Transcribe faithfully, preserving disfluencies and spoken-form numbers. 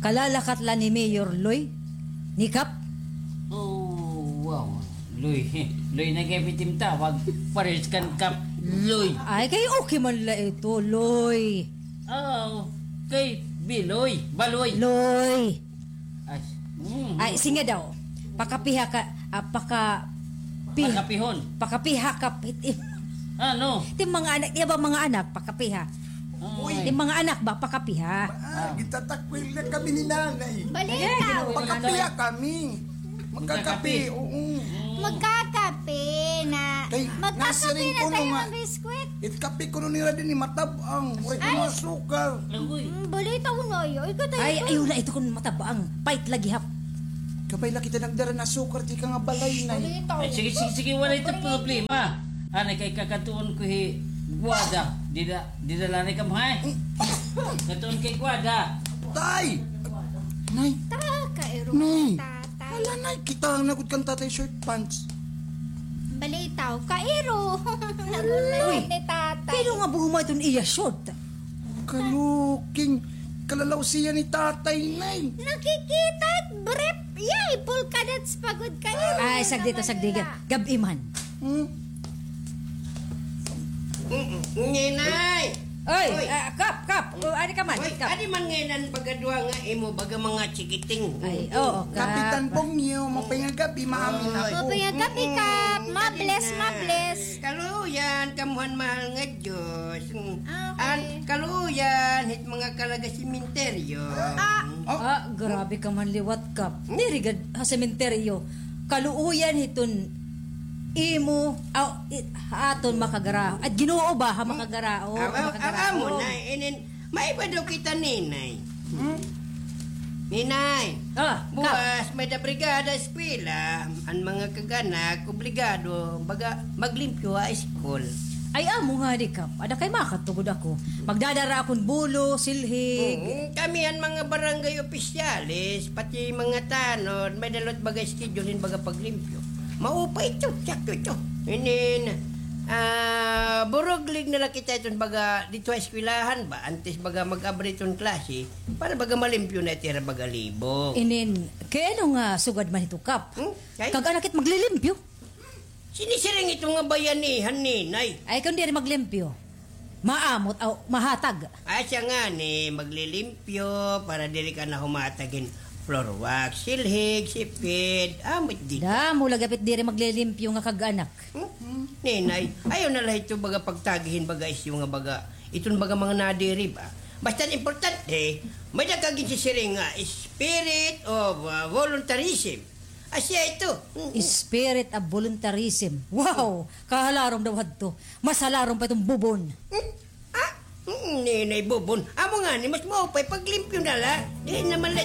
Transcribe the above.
Kalalakat la ni Mayor Loy? Ni Kap? Oh, wow. Loy. Loy na kay pitim tawag. Pares kan Kap. Loy. Ay, kay okay man la ito, Loy. Oh, kay Biloy. Baloy. Loy. Ay, mm. Ay, sige daw. Pakapiha ka, ah, paka-, pi-, Pakapihon. Pakapiha ka, pit-, Ano? Ti mga anak, iya ba mga anak, pakapiha? Uy. Ti mga anak ba, pakapiha? Ah, gitatakwil na kami ni nanay. Balita. Pakapiha kami. Magkakape, oo. Magkakape na. Kay, magkakape nasiring na ko tayo nga, ng biskwit. It kape kuno nira dinhi matab-ang. Waray kuno asukar. Agoy. Mm, balita ko na iyo. Ikaw tayo. Ay, ayaw na ito kun matab-ang. Pait lagi hap. Kabay la kita nagdara hin asukar, di ka nga balay na. Balita ko. Ay, sige, sige, sige, waray ito problema. Anay kay kakatuon ko hi Guada. Dida, dida la ni kam, ha? Katuon kay Guada. Tay! Nay! Ta, kairo Nay! Tatay. Hala, Nay, kita na gud kan tatay shirt pants. Balitaw, kairo. Uy, ni tatay. Pero nga buhuma iton iya short. Kaluking, kalalaw siya ni tatay, Nay. Nakikita it brief. Yay, polka dots pa gud kairo. Ay, sagdita, sagdiga. Gab-i man. Hmm? Mm, Ninay! Oy, oy. Ah, Kap, Kap. O, adi ka man, Oy, Kap. Adi man ngay-an baga duha nga imo, baga mga chikiting. Ay, oo, Kap. Kapitan Bongyo, mapay nga gab-i, maamin ako. Mapay nga gab-i, Kap. Mm, mabless, adi na. Mabless. Kaluyan, kamuhan mahal nga Diyos. Mm. Ah, okay. An, kaluyan, hit mga kalaga sementeryo. Ah. Oh. Ah, grabe ka man liwat, Kap. Diri gad ha sementeryo. Kaluoyan hiton imo, aw, i-, ha aton makagara-, at Ginoo ba ha makagaraon, ah, ah, makagaraon. Amo na, inin, maiba daw kita, Ninay. Hmm? Ninay, ah, Kap. Buwas, may da brigada eskwela, an mga kag-anak, obligado, baga, maglimpyo ha school. Ay, amo ngani, Kap. Ada kay makatugod ako. Magdadara akon bulo, silhig. Mm, kami an mga barangay opisyales, pati mga tanod, may da la it baga schedule hin baga paglimpyo. Maupay ito, sakto ito. Inin, ah, buruglig na la kita iton baga dito ha eskwelahan ba, antes baga mag-abri iton klase, para baga malimpyo na it ira baga libog. Inin, kay ano nga sugad man ito, Kap? Hmm? Ay? Kag-anak it maglilimpyo? Sinisiring ito nga bayanihan, Ninay. Ay, kun diri maglimpyo, maamot, aw, mahatag. Ay, siya ngani, maglilimpyo para diri ka na humatag hin floor wax, silhig, sipid, amot dida. Damo la gapit diri maglilimpyo nga kag-anak. Hmm? Ninay, ayaw na la ito baga pagtagi hin baga isyu nga baga, iton baga mga nadiri ba? Basta an importante, may da ka ginsisiring nga spirit of, ah, voluntarism. Asya ito. Mm, mm. Spirit of voluntarism. Wow! Kahalarom daw hadto. Mas halarom pa iton bubon. Hmm? Ah? Mm, Ninay, bubon. Amo ngani, mas maupay paglimpyo na la. Diri naman la